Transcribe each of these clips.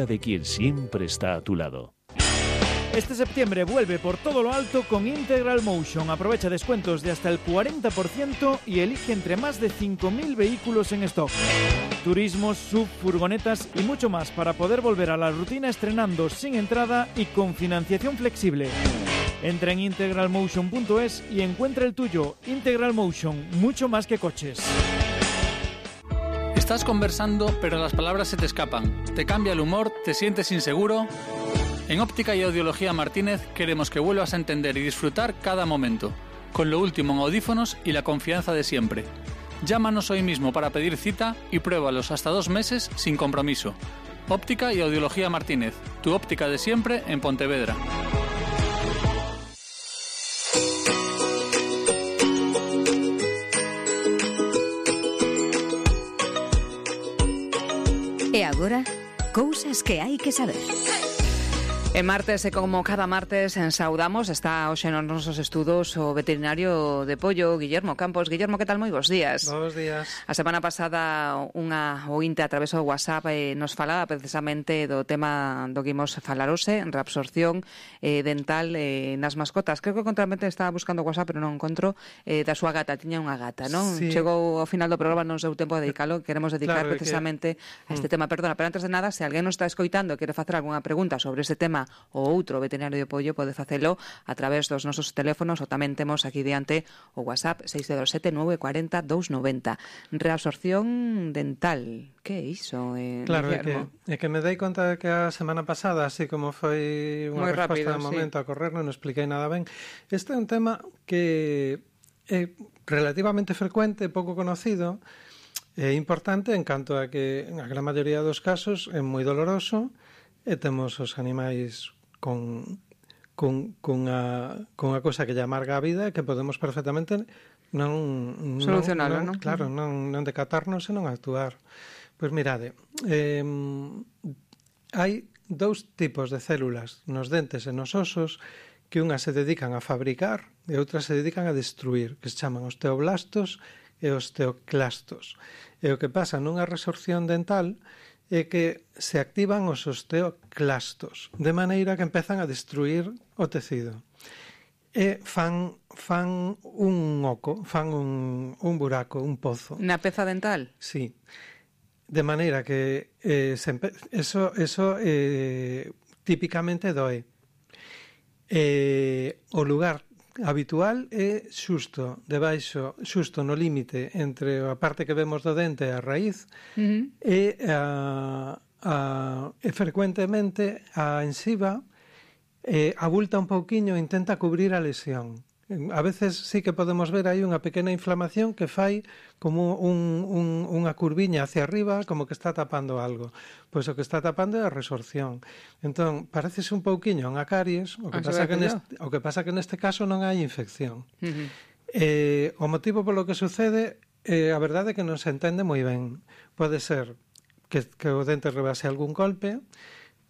de quien siempre está a tu lado. Este septiembre vuelve por todo lo alto con Integral Motion. Aprovecha descuentos de hasta el 40% y elige entre más de 5.000 vehículos en stock. Turismos, sub, furgonetas y mucho más para poder volver a la rutina estrenando sin entrada y con financiación flexible. Entra en integralmotion.es y encuentra el tuyo. Integral Motion, mucho más que coches. Estás conversando, pero las palabras se te escapan. Te cambia el humor, te sientes inseguro. En Óptica y Audiología Martínez queremos que vuelvas a entender y disfrutar cada momento, con lo último en audífonos y la confianza de siempre. Llámanos hoy mismo para pedir cita y pruébalos hasta 2 meses sin compromiso. Óptica y Audiología Martínez, tu óptica de siempre en Pontevedra. E agora, cousas que hai que saber. E martes, e como cada martes, saudamos, está hoxe nos nosos estudos o veterinario de pollo, Guillermo Campos. Guillermo, que tal? Moi bons días. Bons días. A semana pasada unha ointe a través do WhatsApp nos falaba precisamente do tema do que imos falar hoxe, reabsorción dental nas mascotas. Creo que contramente estaba buscando o WhatsApp, pero non encontro, da súa gata. Tiña unha gata, non? Sí. Chegou ao final do programa, non sei o tempo de dedicalo, queremos dedicar Claro, precisamente a este tema. Perdona, pero antes de nada, se alguén nos está escoitando e quere facer algunha pregunta sobre este tema ou outro veterinario de pollo, pode facelo a través dos nosos teléfonos, ou tamén temos aquí diante o WhatsApp 607 940 290. Reabsorción dental, que é iso, Claro, Guillermo? é que me dei conta de que a semana pasada, así como foi unha Moi resposta rápido, de momento a correr, non expliquei nada ben. Este é un tema que é relativamente frecuente, pouco conocido, é importante en canto a que a gran maioría dos casos é moi doloroso e temos os animais cunha cosa que lle amarga a vida e que podemos perfectamente non solucionalo, non? Claro, non decatarnos e non actuar. Pois mirade, hai 2 tipos de células nos dentes e nos osos que unhas se dedican a fabricar e outras se dedican a destruir, que se chaman osteoblastos e osteoclastos. E o que pasa nunha resorción dental é que se activan os osteoclastos, de maneira que empezan a destruir o tecido. E fan un oco, fan un buraco, un pozo. Na peza dental? Sí. De maneira que eso típicamente doe. O lugar habitual é xusto debaixo, xusto no límite entre a parte que vemos do dente e a raíz, e frecuentemente a ensiva abulta un pouquiño e intenta cubrir a lesión. A veces sí que podemos ver aí unha pequena inflamación que fai como unha curviña hacia arriba, como que está tapando algo. Pois o que está tapando é a resorción. Entón, parecese un pouquiño unha caries, o que pasa que neste caso non hai infección. O motivo polo que sucede, a verdade é que non se entende moi ben. Pode ser que o dente rebase algún golpe,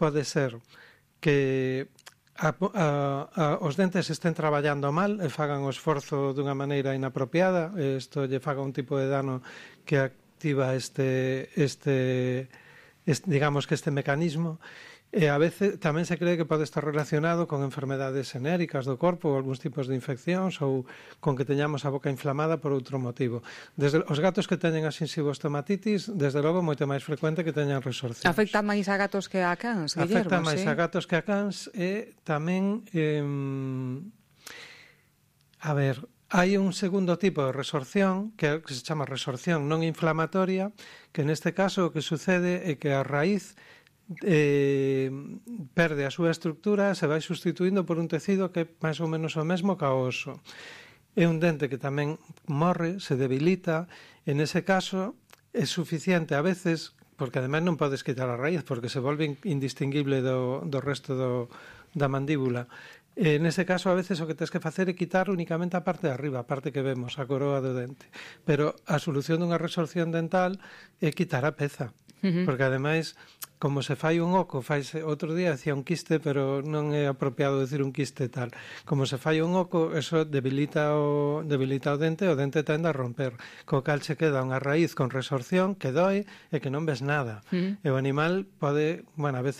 pode ser que os dentes estén traballando mal e fagan o esforzo dunha maneira inapropiada, isto lle faga un tipo de dano que activa digamos que este mecanismo, e a veces tamén se cree que pode estar relacionado con enfermedades xenéricas do corpo ou algúns tipos de infeccións ou con que teñamos a boca inflamada por outro motivo. Desde os gatos que teñen a xinsivostomatitis, desde logo moito máis frecuente que teñan resorcións. Afecta máis a gatos que a cans, Guillermo? Afecta máis a gatos que a cans e tamén hai un segundo tipo de resorción que se chama resorción non inflamatoria, que neste caso o que sucede é que a raíz perde a súa estructura, se vai sustituindo por un tecido que é máis ou menos o mesmo que o oso. É un dente que tamén morre, se debilita, en ese caso é suficiente a veces, porque ademais non podes quitar a raíz, porque se volve indistinguible do resto da mandíbula. En ese caso, a veces, o que tens que facer é quitar únicamente a parte de arriba, a parte que vemos, a coroa do dente. Pero a solución dunha resorción dental é quitar a peza, porque ademais como se fai un oco, faise, outro día decía un quiste, pero non é apropiado decir un quiste tal. Como se fai un oco, eso debilita o dente tende a romper. Co cal se queda unha raíz con resorción que doi e que non ves nada. E o animal pode, bueno, a veces